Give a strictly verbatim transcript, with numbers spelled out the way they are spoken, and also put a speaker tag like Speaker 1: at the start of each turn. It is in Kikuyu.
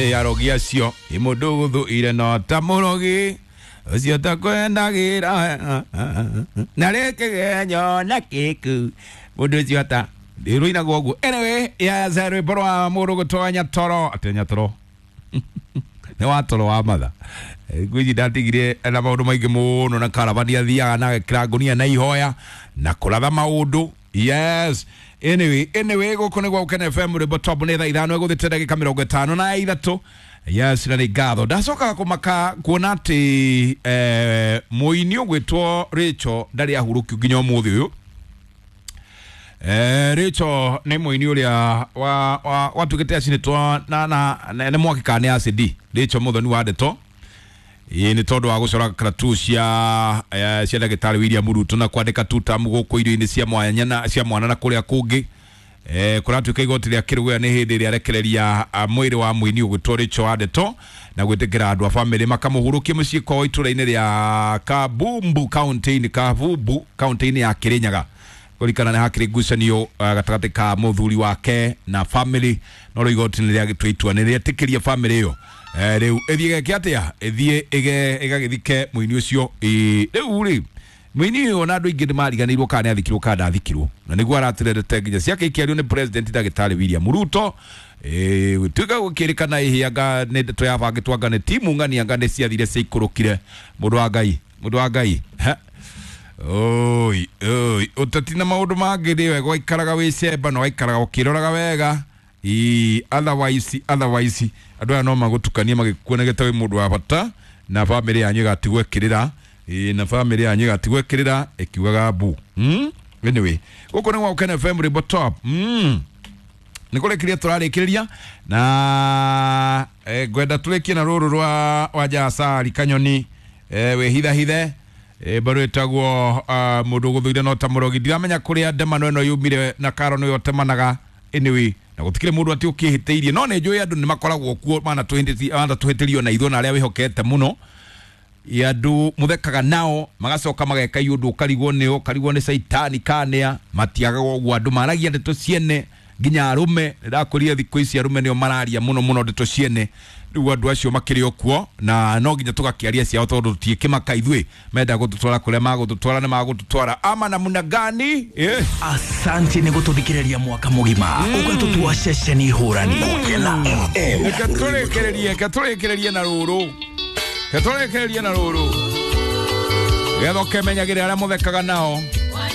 Speaker 1: Eh arogi acio imundu guthuire no ta murogi ucio takwendagĩra na rĩkĩgenyo na kĩku mũndũ ũcio ata rũinagwo ũguo. Anyway, yes, rwĩmbo rwa mũndũ gũtonya toro atĩ nyatoro nĩ wa toro wa matha ngwĩci ndatigire na maũndũ maingĩ mũno na karavani athiaga na agekĩra ngũnia na ihoya na kũratha maũndũ. Yes, anyway, anyway gũkũ nĩ gwa Gũkena F M rwĩmbo top nĩ thaa ithano ĩgũthĩte ndagĩka mĩrongo ĩtano na ithatũ. Yes, na nĩ ngatho ndacokaga kũmaka kuona atĩ eh, mũini ũgwĩtwo Rachel ndarĩ ahurũkio nginya ũmũthĩ ũyũ. Eh, Rachel nĩ mũini ũrĩa wa wa watuĩkĩte acinĩtwo na na nĩ mwaki kana nĩ acidi. Rachel Muthoni wa ndeto ĩĩ nĩ tondũ wa gũcora karatu cia eh, cia ndagĩtarĩ William Ruto na kwandĩka tutamu gũkũ irio-inĩ cia mwanya na cia mwana na kũrĩa kũngĩ. Eh, kũratuĩka igoti rĩa Kĩrũgũya nĩ hĩndĩ ĩrĩa arekereria mwĩrĩ wa mũini ũgwĩtwo Rachel wa ndeto na gwĩtĩkĩra andũ a bamĩrĩ makamũhurũkie mũciĩ kwao itũra-inĩ rĩa Kabumbu kaunti-inĩ Kabumbu kaunti-inĩ ya Kĩrĩnyaga. Kũrikana nĩ hakĩrĩ ngucanio gatagatĩ ka mũthuri wake na family no rĩu igoti nĩ rĩagĩtua itua nĩ rĩetĩkĩria family ĩyo eh, rĩu ĩthiĩ geke atĩa ĩthiĩ ĩgagĩthike mũini ũcio. Rĩu rĩ mũini ũyũ ona andũ aingĩ nĩ mariganĩirwo kana nĩ athikirwo kana ndathikirwo na nĩguo aratererete nginya ciake ikĩario nĩ president ndagĩtarĩ William Ruto. Eh, gũtuĩka gũkĩrĩkana ĩhĩanga nĩ ndeto yabangĩtwo anga nĩ timu ng'ani anga nĩ ciathire ciaikũrũkire. Mũndũ wa Ngai, mũndũ wa Ngai, oi oi ũteti na maũndũ mangĩ nĩ wega waikaraga wĩ cemba na waikaraga ũkĩroraga wega. I otherwise otherwise andũ aya no magũtukanie magĩkuonagĩte wĩ mũndũ wa bata na bamĩrĩ yanyu ĩgatigwo ĩkĩrĩra. Ĩ na bamĩrĩ yanyu ĩgatigwo ĩkĩrĩra ĩkiugaga mbu. Mm? Anyway, gũkũ nĩ gwa Gũkena F M rwĩmbo top. Mm. Nĩ kũrĩkĩria tũrarĩkĩrĩria na eh, ngwenda tũrĩkie na rũrũ rwa Wanja Kanyoni eh, wĩhithahithe e bado ĩtagwo uh, mũndũ gũthũire no ta mũrogi. Ndiramenya kũrĩa ndemano ĩno yumire na karo nĩyo temanaga. Anyway, na gũtikĩrĩ mũndũ atĩ ũkĩhĩtĩirie no nĩ njũĩ andũ nĩ makoragwo kuo manatũhĩtĩrio na ithuĩ na arĩa wĩhokete mũno andũ mũthekaga nao magacoka mageka iũndũ ũkarigwo nĩo ũkarigwo nĩ caitani kanĩa matiagaga ũguo. Andũ maragia ndeto ciene nginya arũme ndĩrakũria thikũ ici arũme nĩo mararia mũno mũno ndeto ciene. Rĩu andũ acio makĩrĩ o kuo na no nginya tũgakĩaria ciao tondũ tũtiĩkĩmaka ithuĩ menda gũtũtwara kũrĩa magũtũtwara nĩ magũtũtwara ama namna gani eh.
Speaker 2: Asante nĩ gũtũthikĩrĩria mwaka mũgima ũgatũtua ceceni hũrani Gũkena F M.
Speaker 1: Reke tũrĩkĩrĩrie reke tũrĩkĩrĩrie na rũrũ reke tũrĩkĩrĩrie na rũrũ getha ũkemenyagĩrĩra arĩa mũthekaga nao.